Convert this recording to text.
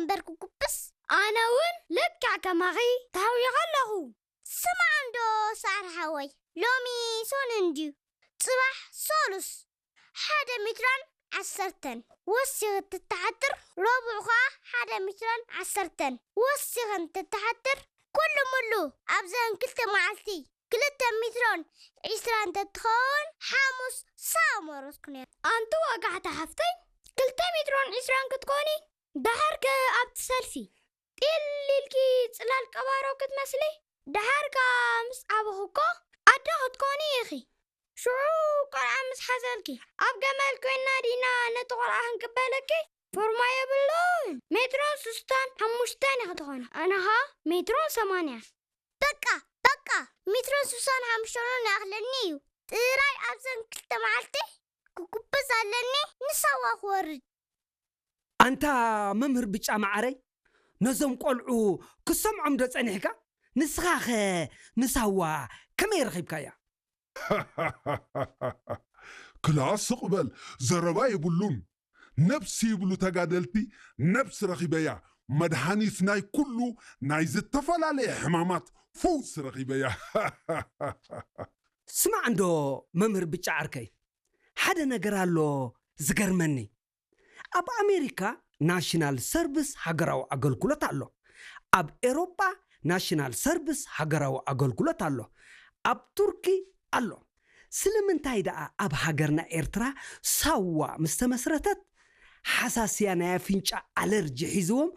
እምበር ክጉብስ። ኣነ እውን ልክዕ ከማኺ ተሃዊኸ ኣለኹ። ስማዕ እንዶ ሳዕሪ ሓወይ፣ ሎሚ ሶን እንድዩ፣ ጽባሕ ሶሉስ፣ ሓደ ሜትሮን ዓሰርተን ወሲኺ እንትትሓድር፣ ረቡዕ ኸኣ ሓደ ሜትሮን ዓሰርተን ወሲኺ እንትትሓድር፣ ኩሉ ሙሉ ኣብዘን ክልተ መዓልቲ ክልተ ሜትሮን ዒስራን እንተትኸውን፣ ሓሙስ ሳዋ መረጽኩ ነይረ። ኣንቲ ወጋሕታ ሓፍተይ፣ ክልተ ሜትሮን ዒስራን ክትኮኒ፣ ደሓር ከ ኣብቲ ሰልፊ ጢል ኢልኪ ጽላል ቀባሮ ክትመስሊ፣ ደሓር ከኣ ምስ ዓበኹ እኮ ኣደ ክትኮኒ ኢኺ። ሽዑ ቆልዓ ምስ ሓዘልኪ፣ ኣብ ገመል ኮይና ዲና ነቲ ቆልዓ ክንቅበለኪ? ፎርማ የብሉን። ሜትሮን ስስታን ሓሙሽተን ኢኺ ትኾኒ። ኣነ ኸኣ ሜትሮን ሰማንያን። በቃ፣ በቃ፣ ሜትሮን ስሳን ሓሙሽተን ይኣኽለኒ እዩ። ጥራይ ኣብዘን ክልተ መዓልቲ ክጉብዝ ኣለኒ፣ ንሳዋ ክወርድ። ኣንታ መምህር ብጫ መዓረይ፣ ነዞም ቆልዑ ክሰምዖም ዶ ጸኒሕካ? ንስኻኸ ንሳዋ ከመይ ረኺብካያ? ክላ ስቕ በል፣ ዘረባ የብሉን። ነብሲ ይብሉ ተጋደልቲ፣ ነብሲ ረኺበያ። መድሃኒት ናይ ኩሉ ናይ ዝተፈላለየ ሕማማት ፈውሲ ረኺበያ። ስማዕ እንዶ መምህር ብጫ ዓርከይ፣ ሓደ ነገር ኣሎ ዝገርመኒ። ኣብ ኣሜሪካ ናሽናል ሰርቪስ ሃገራዊ ኣገልግሎት ኣሎ። ኣብ ኤሮጳ ናሽናል ሰርቪስ ሃገራዊ ኣገልግሎት ኣሎ። ኣብ ቱርኪ ኣሎ። ስለምንታይ ደኣ ኣብ ሃገርና ኤርትራ ሳዋ ምስ ተመስረተት ሓሳስያ ናይ ኣፍንጫ ኣለርጂ ሒዝዎም